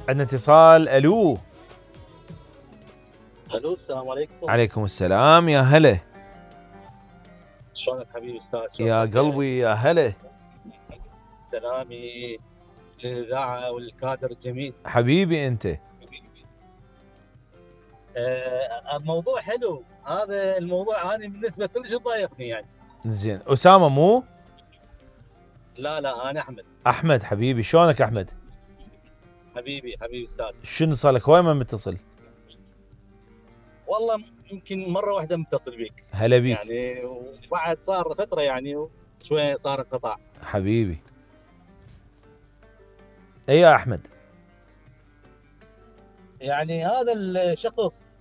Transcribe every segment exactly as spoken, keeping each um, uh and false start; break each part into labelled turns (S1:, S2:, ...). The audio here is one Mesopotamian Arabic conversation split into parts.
S1: عندنا اتصال. الو
S2: الو السلام عليكم.
S1: عليكم السلام، يا هلا.
S2: شلونك حبيبي استاذ؟
S1: يا قلبي يا هلا.
S2: سلامي للاذاعه والكادر الجميل.
S1: حبيبي انت.
S2: آه الموضوع حلو، هذا الموضوع انا بالنسبه كلش ضايقني يعني.
S1: زين، اسامه مو؟
S2: لا لا انا احمد.
S1: احمد حبيبي، شلونك احمد؟
S2: حبيبي حبيبي استاذ.
S1: شنو صار لك هواي ما متصل؟
S2: والله يمكن مره واحده متصل بيك.
S1: هلا بيك.
S2: يعني وبعد صار فتره يعني شويه صار انقطاع.
S1: حبيبي. اي يا احمد.
S2: يعني هذا الشخص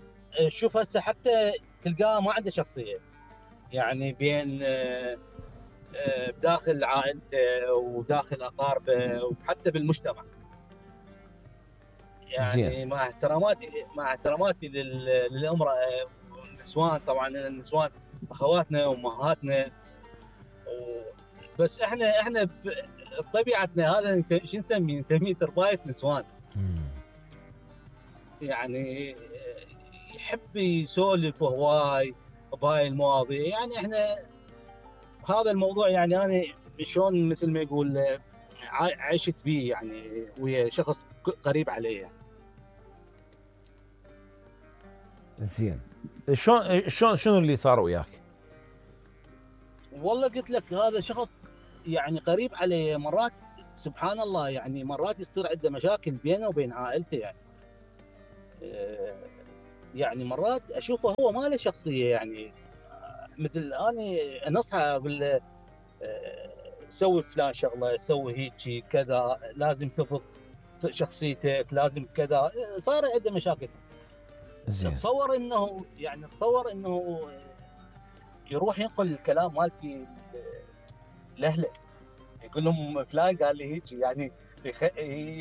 S2: شوف هسه حتى تلقاه ما عنده شخصيه، يعني بين بداخل عائلته وداخل اقاربه وحتى بالمجتمع. يعني
S1: زين.
S2: مع احتراماتي مع احتراماتي للامراه والنسوان، طبعا النسوان اخواتنا وامهاتنا، بس احنا احنا بطبيعتنا هذا شو نسميه؟ نسميه تربايه نسوان. يعني يحب يسولف هواي بهاي المواضيع. يعني احنا هذا الموضوع يعني انا شلون مثل ما يقول عشت بيه يعني ويا شخص قريب علي يعني.
S1: زين، شلون شلون شنو اللي صار وياك؟
S2: والله قلت لك هذا شخص يعني قريب علي، مرات سبحان الله يعني مرات يصير عنده مشاكل بينه وبين عائلته يعني. يعني مرات اشوفه هو ما له شخصيه، يعني مثل اني انصحه اقول له سوي فلان شغله، سوي هيك كذا، لازم تفرض شخصيتك، لازم كذا. صار عنده مشاكل.
S1: زين.
S2: تصور انه يعني تصور انه يروح ينقل الكلام مالتي لاهله، يقول لهم فلان قال لي هيك، يعني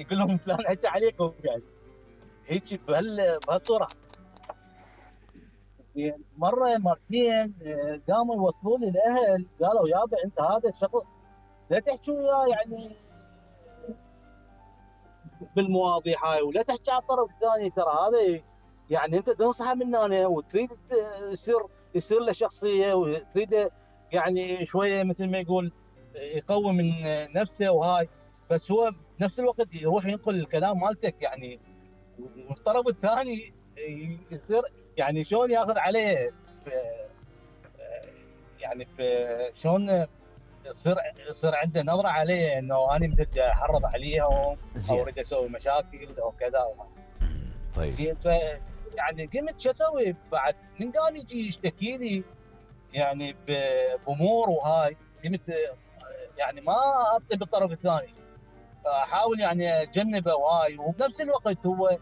S2: يقول لهم فلان حكى عليكم، يعني هيك بهال بهالصوره. مره مرتين قاموا يوصلوا لي الاهل، قالوا يابا انت هذا الشخص لا تحكي وياه يعني بالمواضيع هاي، ولا تحكي على الطرف الثاني، ترى هذا يعني انت تنصحه من هنا وتريد يصير يصير له شخصيه وتريد يعني شويه مثل ما يقول يقوي من نفسه وهاي، بس هو بنفس الوقت يروح ينقل الكلام مالتك يعني، والطرف الثاني يصير يعني شلون ياخذ عليه يعني شلون يصير يصير عنده نظره عليه انه انا بدي احرض عليهم او اريد اسوي مشاكل او كذا.
S1: طيب
S2: زين، ف يعني قمت شو اسوي بعد من قام يجي يشتكي لي يعني بامور وهاي، قمت يعني ما ابطل بالطرف الثاني، احاول يعني اتجنبه وهاي، وبنفس الوقت هو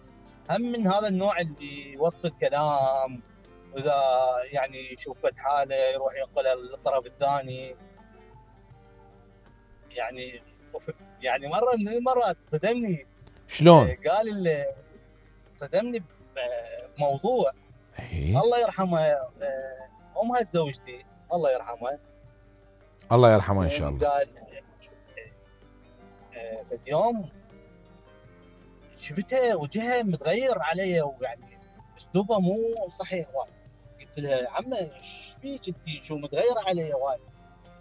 S2: هم من هذا النوع اللي يوصل كلام، واذا يعني يشوف حاله يروح ينقلها للطرف الثاني. يعني يعني مره من المرات صدمني.
S1: شلون؟
S2: قال صدمني بموضوع.
S1: ايه
S2: الله يرحمها امها زوجتي، الله يرحمها.
S1: الله يرحمها ان شاء الله.
S2: قال في يوم شفتها وجهها متغير علي، ويعني اسلوبها مو صحيح وايد. قلت لها عمه ايش فيك انت، شو متغيره علي وايد؟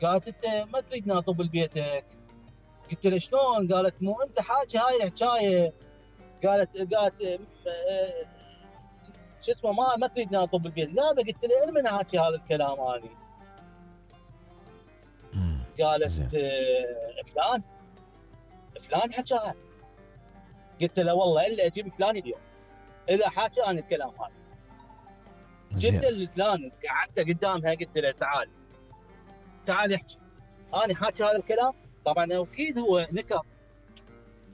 S2: قالت انت ما تريد ناطب ببيتك. قلت لها شلون؟ قالت مو انت حاكي هاي الحكايه. قالت قالت شو اسمه ما ما تريد ناطب بالبيت. لا قلت لها من حاكي هذا الكلام اني؟ قالت آه فلان فلان حكاها. قلت له والله الا اجيب فلان اليوم اذا حاكى انا الكلام هذا. جبت الفلان قعدته قدامها، قلت له تعال تعال احكي، انا حاكي هذا الكلام. طبعا اكيد هو نكر،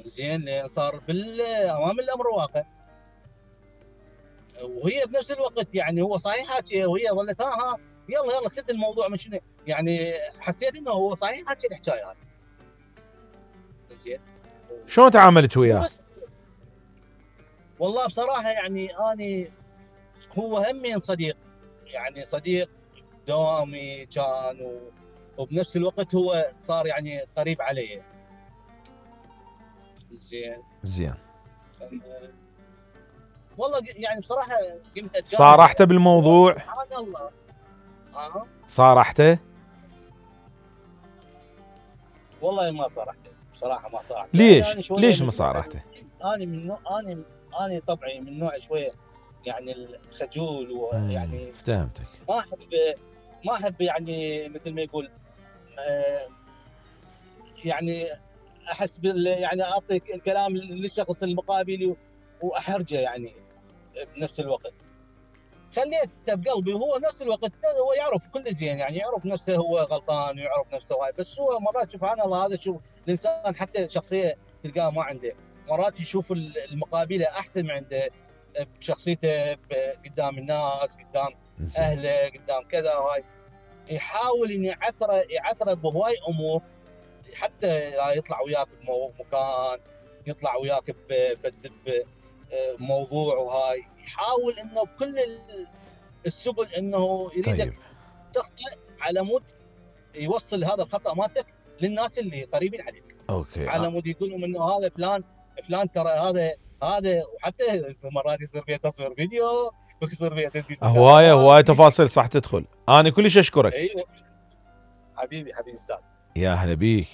S2: زين لان صار بالامام الامر واقع، وهي بنفس الوقت يعني هو صحيح حاكي، وهي ظلت ها ها يلا يلا سد الموضوع من شنو يعني. حسيت انه هو صحيح حاكي الحكايه هذه. زين،
S1: شلون تعاملت وياه؟
S2: والله بصراحه يعني اني هو همين صديق، يعني صديق دوامي كان و... وبنفس الوقت هو صار يعني قريب علي. زين
S1: زين
S2: والله يعني بصراحه قمت اتجاهل.
S1: صارحته بالموضوع؟
S2: سبحان الله. ها
S1: صارحته؟
S2: والله ما صارحته بصراحه، ما صارحته.
S1: ليش؟
S2: يعني
S1: ليش ما صارحته؟
S2: انا من نوع انا انا طبعي من نوع شويه يعني الخجول، ويعني
S1: فهمتك.
S2: ما احب ما احب يعني مثل ما يقول آه يعني احس بال يعني اعطي الكلام للشخص المقابل واحرجه يعني بنفس الوقت. خليته بقلبي، وهو نفس الوقت هو يعرف كل زين، يعني يعرف نفسه هو غلطان ويعرف نفسه هاي. بس هو مرات سبحان الله هذا شوف الانسان حتى شخصيه تلقاه ما عنده، مرات يشوف المقابله احسن من عنده بشخصيته قدام الناس، قدام اهله، قدام كذا هاي. يحاول انه يعثره يعثره بهواي امور حتى يطلع وياك بمكان، يطلع وياك بفد بموضوع وهاي. يحاول انه بكل السبل انه يريدك
S1: طيب.
S2: تخطئ على مود يوصل هذا الخطا مالتك للناس اللي قريبين عليك.
S1: اوكي.
S2: على مود يقولوا انه هذا فلان فلان ترى هذا هذا وحتى مرات يصير فيها تصوير فيديو ويصير فيها تسجيل
S1: هوايه هوايه تفاصيل صح تدخل. انا كلش اشكرك.
S2: ايوه حبيبي حبيبي استاذ.
S1: يا هلا بيك.